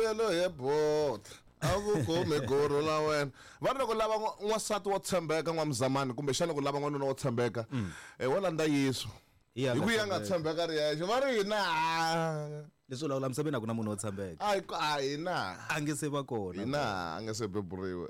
Mbelo he bota a ku kumi guru la wena. Va ri loko lava n'wansati wo tshembeka n'wamzamani kumbexana ku lava n'wanuna wo tshembeka wo landza Yesu. Hi Hi ku ya nga tshembeka ri yexe va ri hina. Leswi lawula misaveni a ku na munhu wo tshembeka. A hi a hina. A nge se va kona. Hina a nge se beburiwe.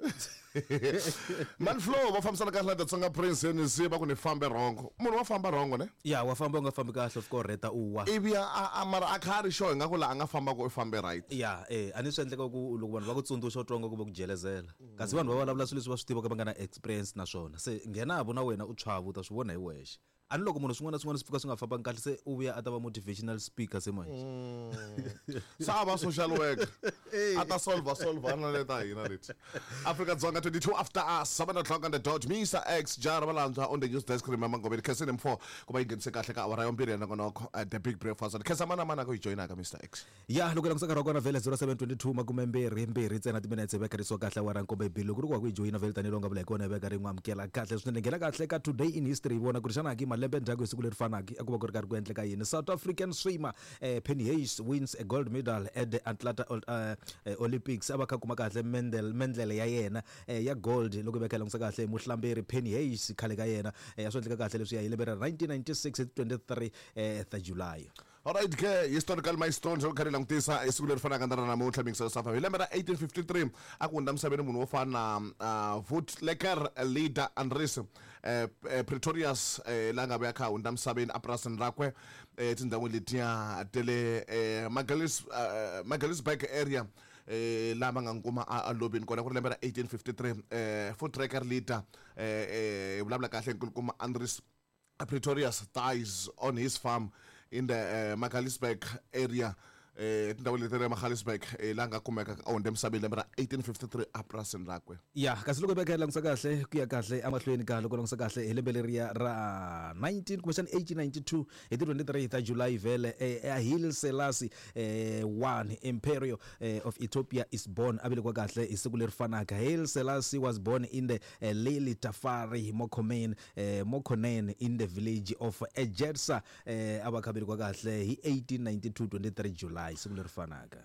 Man Flow va fambisana kahle na The Tsonga Prince NC va ku ni fambe rhongo. Munhu wa famba rhongo ne? Ya wa famba u nga fambi kahle u fika u rheta u wa. Ivi a a mara a kha a ri sure ingaku laha a nga famba ko u fambe right. Ya eh a ni swi endleka ku loko vanhu va ku tsundzuxa u twa nga ku va ku jelezela. Kasi vanhu va vulavula swilo leswi va swi tivaka va nga na experience na swona. Se nghena vo na wena u tshwava u ta swi vona hi wexe. A ni loko munhu swin'wana na swin'wana swi pfuka swi nga fambangi kahle se u vuya a ta va motivational speaker se manje. Se a va social worker. A ta solver solver na leta hina leti. Afrika Dzonga 22 after us 7 o'clock on the dot. Mr X Jara Valandzwa on the news desk remember Ngobeni Khensini Mfo ku va yi nghenise kahle ka awara ya vumbirhi ya nongonoko the big breakfast. Khensa mana mana ku yi joyinaka Mr X. Ya loko langutisa nkarhi wa kona vhele 0722 makumembirhi mbirhi ntsena timinetse veka risiwa kahle awara nkombo ibili loko ri ku wa ku yi joyina vhele tanihi lowu nga vula hi kona hi veka ri n'wi amukela kahle swinene nghena kahle ka today in history hi vona ku ri xana ki malembe ndzhaku hi siku leri fanaka a ku va ku ri karhi ku endleka yini. South African swimmer Penny Hayes wins a gold medal at the Atlanta Olympics a va kha kuma kahle mendel mendlele ya yena ya gold loko hi veka hi langutisa kahle muhlamberi Penny Hayes khale ka yena a swi endleka kahle leswiya hi lembe ra 1996 hi 23 ta July. Alright ke historical milestones loko kha ri langutisa hi siku leri fanaka na ra namuntlha mingiselo safa hi lembe ra 1853 a ku hundza misaveni munhu wo fana na Voetlekker leader Andries Pretorius la nga vuya kha hundza misaveni epurasini rakwe etindhawini letiya ta le Magaliesburg area laha va nga n'wi kuma a lovini kona ku ri lembe ra 1853 Voetlekker leader hi vulavula kahle nkulukumba Andries Pretorius dies on his farm in the Magaliesburg area etindhawini leti ra Magaliesburg laha nga kumeka a hundze emisaveni lembe ra 1853 epurasini rakwe. Ya kasi loko hi veka hi langutisa kahle ku ya kahle emahlweni ka loko langutisa kahle hi lembe leriya ra 19 kumbexana 1892 hi ti 23 ta July vhele Haile Selassie 1 Emperor of Ethiopia is born a velekiwa kahle hi siku leri fanaka. Haile Selassie was born in the Lily Tafari Mokomen Mokonen in the village of Ejersa a va kha velekiwa kahle hi 1892 23 July siku leri fanaka.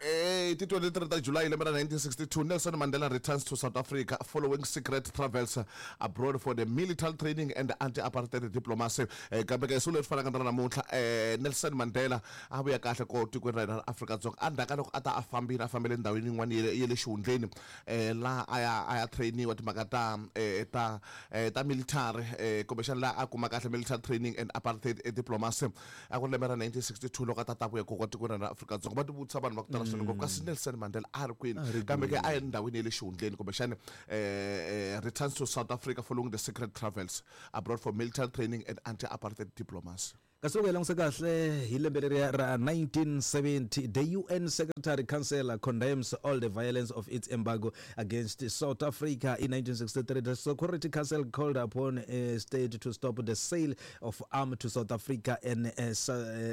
Ti 23 ta July lembe ra 1962 Nelson Mandela returns to South Africa following secret travels abroad for the military training and anti-apartheid diplomacy. Kambe ke siku leri fanaka na ra namuntlha Nelson Mandela a vuya kahle ko tikweni ra hina ra Afrika-Dzonga endzhaku ka loko a ta a fambile a fambele ndhawini yin'wana ya le xihundleni laha a ya a ya trainiwa timhaka ta ta ta military kumbexana laha a kuma kahle military training and apartheid diplomacy a ku ri lembe ra 1962 loko a ta ta vuya koko tikweni ra Afrika-Dzonga va tivutisa vanhu va ku tala swinene ngopfu kasi Nelson Mandela a ri kwini kambe ke a yi ndhawini ya le xihundleni kumbexana returns to South Africa following the secret travels abroad for military training and anti-apartheid diplomacy. Kasi loko hi langutisa kahle hi lembe leriya ra 1970, the UN Secretary Council condemns all the violence of its embargo against South Africa. In 1963, the Security Council called upon a state to stop the sale of arms to South Africa and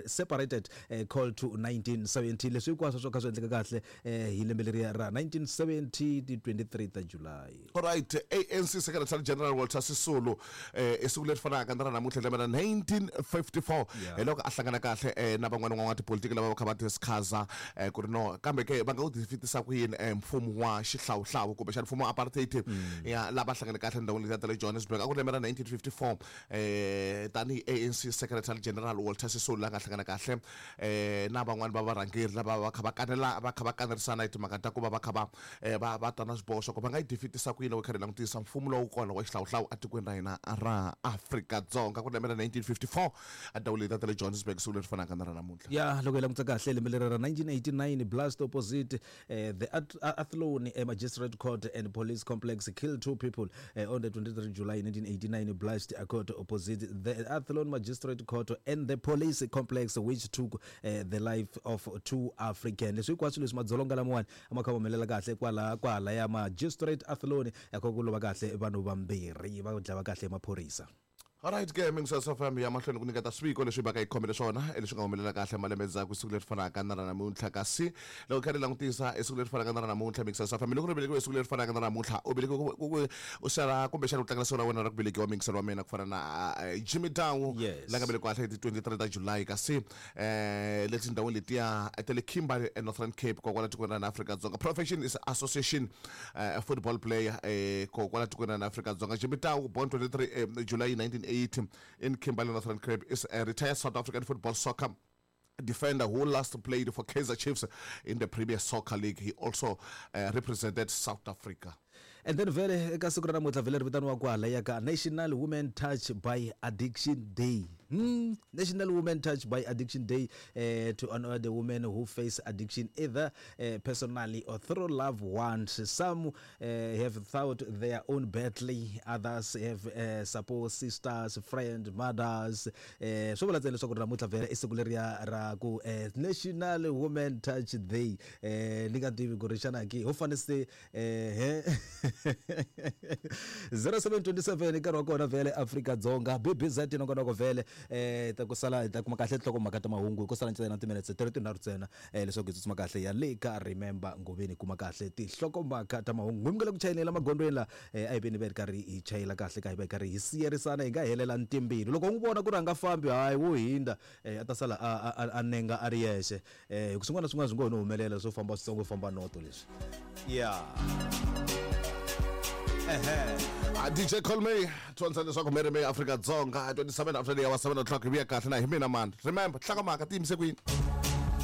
separated call to 1970. Leswi hinkwaswo swo kha swi endleka kahle hi lembe leriya ra 1970 ti 23 ta July. Alright, ANC Secretary General Walter Sisulu i siku leri fanaka na ra namuntlha lembe ra 1954 hi loko a hlangana kahle na van'wana van'watipolitiki lava va kha va discussa ku ri no kambe ke va nga wu defeatisa ku yini mfumo wa xihlawuhlawu kumbexana mfumo wa apartheid ya lava hlangane kahle endhawini letiya ta le Johannesburg a ku ri lembe ra 1954 tanihi ANC Secretary General Walter Sisulu la nga hlangana kahle na van'wana va varhangeri lava va kha va kanela va kha va kanerisana hi timhaka ta ku va va kha va va va ta na swiboho swa ku va nga yi defeatisa ku yini loko hi karhi hi langutisa mfumo lowu kona wa xihlawuhlawu etikweni ra hina ra Afrika-Dzonga ku ri lembe ra 1954 endhawini letiya ta le Johannesburg siku leri fanaka na ra namuntlha. Ya loko hi langutisa kahle lembe leri ra 1989 blast opposite the Athlone Magistrate Court and Police Complex killed two people on the 23 July 1989 blast occurred opposite the Athlone Magistrate Court and the Police Complex which took the life of two African. Leswi hinkwaswo leswi madzolonga lamawani a ma kha humelela kahle kwala kwala ya Magistrate Athlone ya kha ku lova kahle vanhu vambirhi va dlawa kahle hi maphorisa. Alright ke mingiselo FM ya mahlweni ku nyiketa swiviko leswi baka hi khomele swona leswi nga humelela kahle malembe ndzhaku siku leri fanaka na ra namuntlha. Kasi loko kha ri langutisa esiku leri fanaka na ra namuntlha, mingiselo FM, loko ri velekiwe siku leri fanaka na ra namuntlha, u velekiwe u xala kumbexana u tlangela siku ra wena ra ku velekiwa, mingiselo wa mina, ku fana na Jimmy Dow la nga velekiwa kahle hi ti 23 ta July, kasi le tindhawini letiya ta le Kimberley eNorthern Cape kokwala tikweni ra Afrika-Dzonga. Profession is association football player kokwala tikweni ra Afrika-Dzonga. Jimmy Tau, born 23 July 1980 in Kimberley, Northern Cape, is a retired South African football soccer defender who last played for Kaizer Chiefs in the Premier Soccer League. He also represented South Africa. And then vele eka siku ra namuntlha vhele ri vitaniwa kwala ya ka National Women Touch by Addiction Day. National Women Touch by Addiction Day, to honor the women who face addiction either personally or through loved ones. Some have fought their own battle, others have support sisters, friends, mothers. Swi vula ntsena leswaku namuntlha vhele i siku leriya ra ku National Women Touch Day. Ni nga tivi ku ri xana ki ho fane se he 0727 nkarhi wa kona vhele Afrika-Dzonga BBZ nongonoko vhele ta ku sala hi ta kuma kahle tinhlokomhaka ta mahungu ku sala ntsena timinetse ti ri tinharhu ntsena leswaku hi tsutsuma kahle ya le ka Remember Ngoveni kuma kahle tinhlokomhaka ta mahungu. N'wi mi nga le ku chayeleni la magondzweni la, a hi veni va hi ri karhi hi chayela kahle ka hi va hi karhi hi siyerisana hi nga helela ntimbili. Loko u n'wi vona ku ri a nga fambi, hayi wo hindza, a ta sala a nenga a ri yexe. Hi ku swin'wana na swin'wana swi ngo ho no humelela swo famba switsongo famba noto leswi. Yeah. Ehe. DJ Call Me tsonisa leswaku Mary May Afrika Dzonga 27 after the hour 7 o'clock hi vuya kahle na hi mina mani. Remember, hlokomhaka ti yimise kwini?